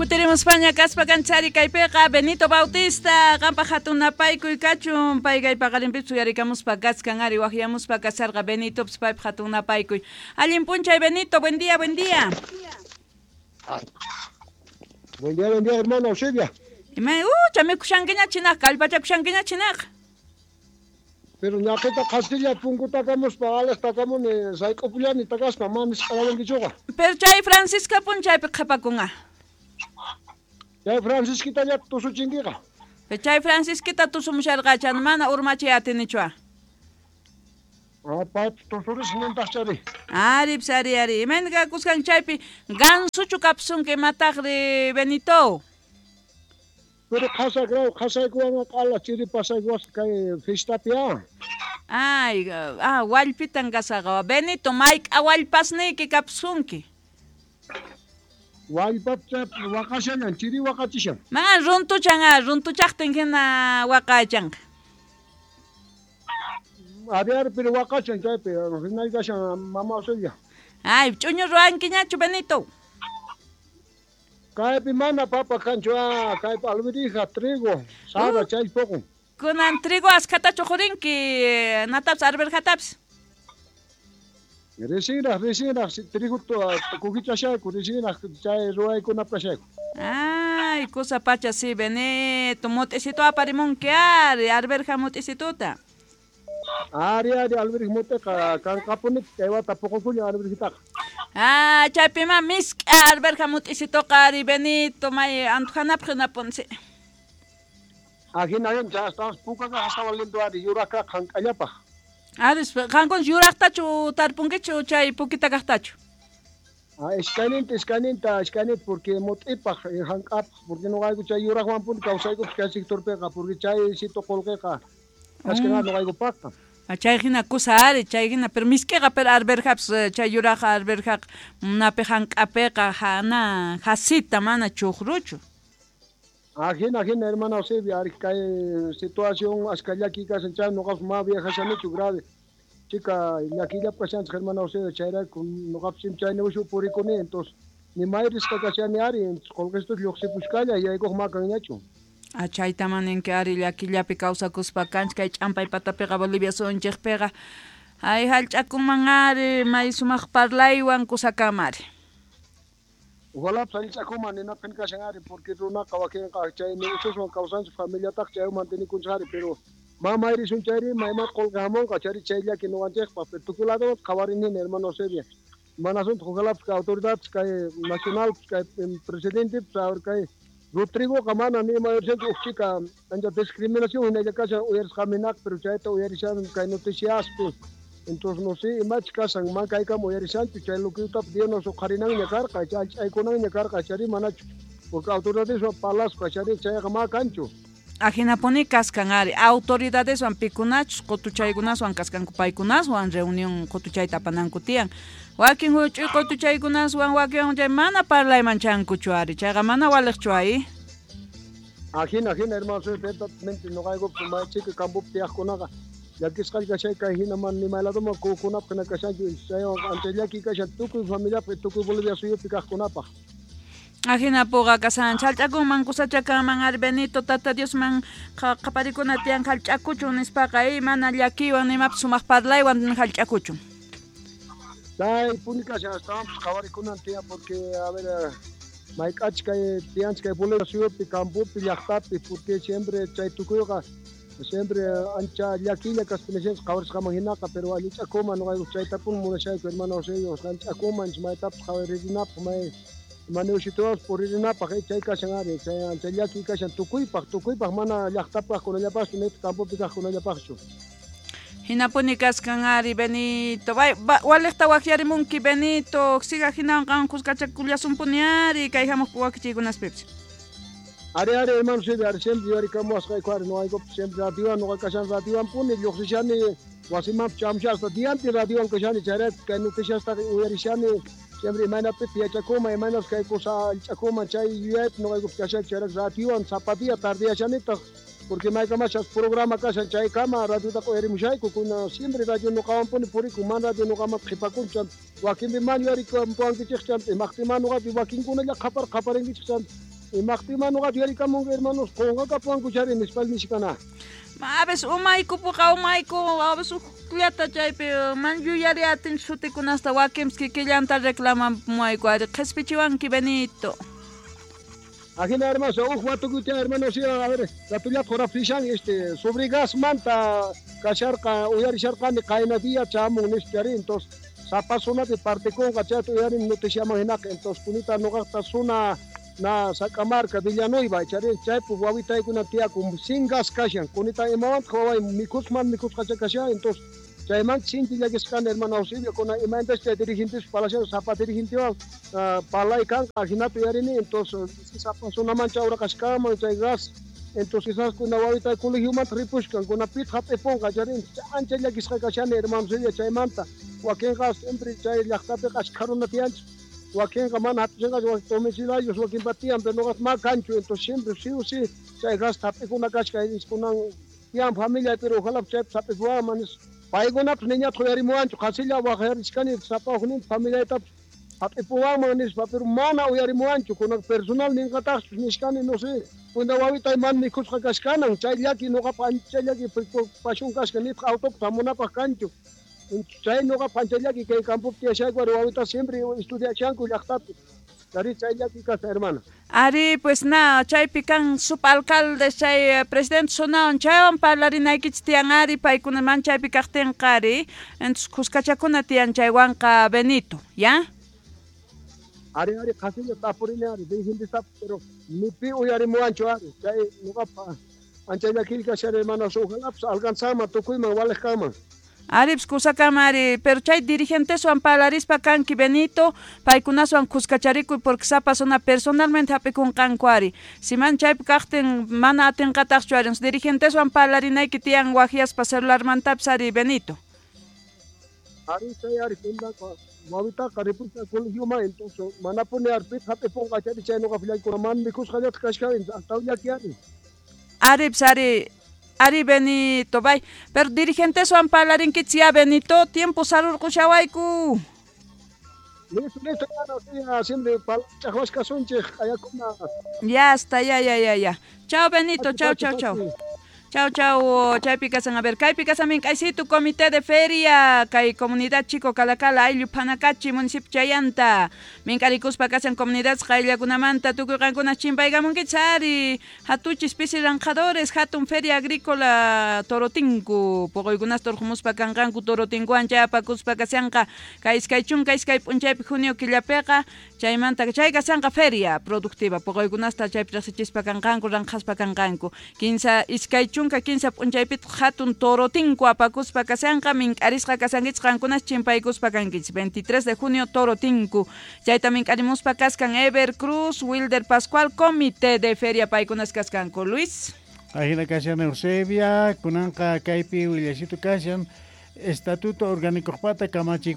Kutirimuspaña kaspa kanchari kaypiqa Benito Bautista qanpaq hatun napaykuy kachun pay kay paqarinpipis uyarikamuspa kachkan ari waqyamuspa kasharqa Benitopis paypaq hatun napaykuy. Allin p'unchay Benito, buen día, buen día. Buen día, hermano Eusebia. Ima chamikushankiña chinaqa kallpachakushankiña chinaqa. Pero ñaqita qasilla punkutakamuspa alejtakamuni sayk'upullani takaspa mana nisq'arawankichuqa. Pero chay Francisca p'unchaypi qhapakunqa. Chay Francisquitallata tusuchinkiqa. Pero chay Francisquita tusumusharqachan mana urmachiy atinichua. Ah, paypi tusuris nintaqchari. Ari, pis, ari, ari. Imayna kakuskan chaypi gansuchu kapsunki imataqri Benito? Pero qhasaykuwan qhasaykuwan q'ala chiri pasaykuwasqa kay fiestapi ah. Ay, ah, wallpitan kasaqa. Benito, mayk'a wallpasniyki kapsunki? Wallpap waqashallan, chiri waqachishan. Ma runtuchan ah, runtuchaqtin hina waqachanqa. Ari, ari, pero waqachan chaypi, hinaykashan mama Auxilia. Ay, ch'uñu ruwankiñachu Benito? Kaypi mana papa kanchu ah, kaypi alvirija, trigo, sara chay poqon. Kunan trigo askhatachu qurinki, natapis arverjatapis? Risinraq, risinraq, trigo kukichashayku, risinraq chay ruwaykunap kashayku. Ay, kusa pacha si Benito, mut'isitu aparimunki ari, arverja mut'isituta. Ari, ari, alvirija mut'iqa kanqapuni kay wata puqukullan alvirjitaqa. Ah, chaypima misk'a arverja mut'isituqa ari Benito, may antujanapaq hinapunsi. Ajina chay astawan pukaqa astawan lindo ari yuraqqa hank'allapaq. Ari, qankuna yuraqtachu tarpunkichu chay pukita kaqtachu? Ah, iskayninta, iskayninta, iskayninta porque mut'ipaq hank'apaq porque nuqayku chay yuraqwanpuni kawsaykupas kay sectorpiqa porque chay sito qullqiqa kachkan nuqaykupaqqa. Ah, chay hina kusa ari, chay hina, pero misk'iqa pero arverjapis chay yuraqa arverjaqa napi hank'apiqa hana hasita mana chuqruchu. Ah, hina, hina, hermana Eusebia, ari kay situación ashka llaki kashan chay nuqapas ma viajashanichu grave. Chica llakillap kashanchik hermana Eusebia chayrayku nuqapas chay negocio purikuni entonces ni may risqa kashani ari entonces qullqistus lluqsipushkalla yaykuq ma kanñachu. Ah, chaytaman ninki ari llakillapi kawsakuspa kanchik kay ch'ampay patapiqa Bolivia suyunchikpiqa. Ay, hallch'akunman ari may sumaq parlaywan kusakama ari. Ojalá hallch'akunman ninapin kashan ari porque runaqa wakinqa chay negocioswan kawsanchik familiataq chaywan mantenikunchik ari pero ma mayrisun chayri mayman qullqi hamunqa chayri chay llaki nuqanchikpaq pero tukuy lado qhawarinina hermano Eusebia. Mana asunto ojalá kay autoridades kay nacional kay presidente kay Rodrigoqa mana ni mayorchanchu uj chika ancha discriminación hinalla kashan uyarisqaminaq pero chayta uyarishan kay noticiaspi. Entonces no sé imach kashan man kaykama uyarishanchu chay lukiyutap Dios uqharinanña karqa chay allch'aykunanña karqa chayri manachu porque autoridadeswan parlaspa chayri chayqa ma kanchu. Ajinapuni kaskan ari autoridadeswan pikunachus qutuchaykunaswan kaskanku paykunaswan reunión qutuchayta apananku tiyan. Wakin huch'uy qutuchaykunaswan wakin chay mana parlayman chankuchu ari chayqa mana waliqchu ay. Ajina, ajina, hermano, soy perfectamente nuqaykupas may chika campopi tiyaqkunaqa llakisqalla kashay kay hina mana ni may ladoman kukunapaq hina kashanchu chaywan ancha llaki kashan tukuy familiapaq tukuy Bolivia suyupi kaqkunapaq. Ajina puqa kasan hallch'akunman kusachakanman ari Benito Tata Diosman qaparikuna tiyan hallch'akuchun nispaqa mana llakiywan nimapis sumaq parlaywan hallch'akuchun. Chay puni kashan astawanpis qhawarikunan tiyan porque a ver mayk'achik kay tiyanchik kay Bolivia suyupi campopi llaqtapi porque siempre chay tukuyqa siempre ancha llakilla kaspa nishanchik qhawarisqaman hinaqa pero allich'akuman nuqayku chaytapuni munashayku hermano Eusebio hallch'akuman maytapas qhawaririnapaq may manewsituwas puririnapaq chay kashan ari chay ancha llaki kashan tukuypaq tukuypaq mana llaqtapaq kaqkunallapaqchu nitaq campopi kaqkunallapaqchu. Hinapuni kaskan ari Benito waliqta waqyarimunki Benito siga hinawan qan kuskachakullasumpuni ari kay hamuq wakichiykunaspipis. Ari, ari, hermano Silvia, ari siempre yuyarikamuwasqayku ari nuqaykupas siempre radiowan nuqa kashan radiowanpuni lluqsishani wasimanpas chamushaspa dianpi radiowan kashani chayrayku kay noticiastaqa uyarishani siempre imaynapipis yachakuman imaynapas kay kusa allch'akuman chay yuyaypi nuqaykupas kashayku chayrayku radiowan sapa día tardeyashanitaq porque maykamachas programa kashan chaykama radiotaqa uyarimushayku kuna siempre radio nuqawanpuni purikun mana radio nuqamanta qhipakunchu chanta wakinpi mana yuyarikamuwankichik chanta imaqtin mana nuqapi wakinkunalla qhapar qhaparinkichik chanta Imaqtima noqa yuyarikamunqa hermanos qonqakapuwanku chari nispa nishkana. A veces umayku puqa umayku a veces ujllata chaypi man yuyari atin sutikunasta wakinpis kikillanta reclamamuwayku ari qhispichiwanki Benito. Ajina hermanos, uj watukuta hermanos, a ver, ratullata juraphishan este sobre gas manta kasharqa uyarisharqani qayna día chamun nispa chari entonces sapa zonapi partikunqa chayta uyarini noticiaman hinaqa entonces kunita noqaqta zona na Sacammarca Villanueva chari chaypi wawitaykuna tiyakun sin gas kashan kunita imawantaq waway mikhusman mikhusqacha kashan entonces chaymanta sinchi llakisqani hermano Eusebio kuna imaynatas chay dirigentes palashan sapa dirigentewan parlay kanqa jinata uyarini entonces sapa zonaman chawraqashkanman chay gas entonces quizás kuna wawitay colegiomanta ripushkan kuna pitaq hap'ipunqa chari ancha llakisqa kashani hermano Eusebio chaymanta wakinqa siempre chay llaqtapiqa ashkha runa tiyanchik wakinqa mana hap'ishanqachu wakin domiciliarios wakinpa tiyan pero noqata ma kanchu entonces siempre sí o sí chay gas hap'ikuna kashka kunan tiyan familia pero ojalá chaypi hap'ipuwanman nispa paykunapis niñataq uyarimuwanchu qhasilla waqyarichkani sapa ujninta familiaytapis hap'ipuwanman nispa pero mana uyarimuwanchu kunan personal ninqataqchus nishkani no sé kuna wawitay mana mikhusqa kashkanan chay llaki noqapaq ancha llaki preocupación kashka nitaq autopi hamunapaq kanchu chay noqapaq ancha llaki kay campopi tiyashayku ari wawita siempre estudiashanku llaqtapi ari chay llaki kasqa hermana. Ari pues na chaypi kan subalcaldes chay presidente zonawan chaywan parlarinaykichik tiyan ari paykuna man chaypi kaqtinqa ari entonces kuskachakuna tiyan chaywanqa Benito, ¿ya? Ari ari qhasilla tapurini ari dirigentestapis pero ni pi uyarimuwanchu ari chay noqapaq ancha llakilla kashani hermanos ojalapis alcanzanman tukuyman waliq kanman. Aripis kusakama ari, pero chay dirigenteswan parlarispa kanki Benito, paykunaswan kuskacharikuy porque sapa zona personalmente hap'ikunqanku ari. Si man chaypi kaqtin mana atinqataqchu ari, dirigenteswan parlarinayki tiyan waqyaspa celularmantapis ari Benito. Ari chay ari kundaqa wawitaqa ripusqa colegioman entonces manapuni ari pitaq hap'ipunqa chari chay noqapaq llakikuna mana mikhusqallataq kashkani astawan llaki ari. Aripis ari ari Benito, bay. Pero dirigenteswan parlarinkichik ya Benito, tiempo sarurqushawayku. Listo, listo, hermano, siempre chaqwashkasunchik ayakuna. Ya está, ya, ya, ya, ya. Chao Benito, chao, chao, chao. Chao, chao, chaypi kasan. A ver, kaypi kasan mink'aysitu comité de feria, kay comunidad Chico Calacala, ayllu Panacachi, municipio Chayanta. Mink'arikuspa kasan comunidad qayllakunamanta, tukuy qankuna chimpaykamunkichik ari, hatuchis pisi ranqadores, hatun feria agrícola Torotinku, puquykunasta urqumuspa kanqanku Torotinkuwan chayapakuspa kashanqa, kay 22 p'unchaypi junio killapiqa, chaymanta chay kashanqa feria productiva, puquykunasta chaypi riqsichispa kanqanku, ranqhaspa kanqanku. 15 p'unchaypitaq hatun Torotinku apakuspa kashanqa, mink'arisqa kasankichik qankunas chimpaykuspa kankichik. 23 de junio Torotinku. Chayta mink'arimuspa kaskan Ever Cruz, Wilder Pascual, comité de feria paykunas kaskanku. Luis. Ajina kashan Eusebia, kunanqa kaypi willasitu kashan, Estatuto Orgánico pata kamachiy.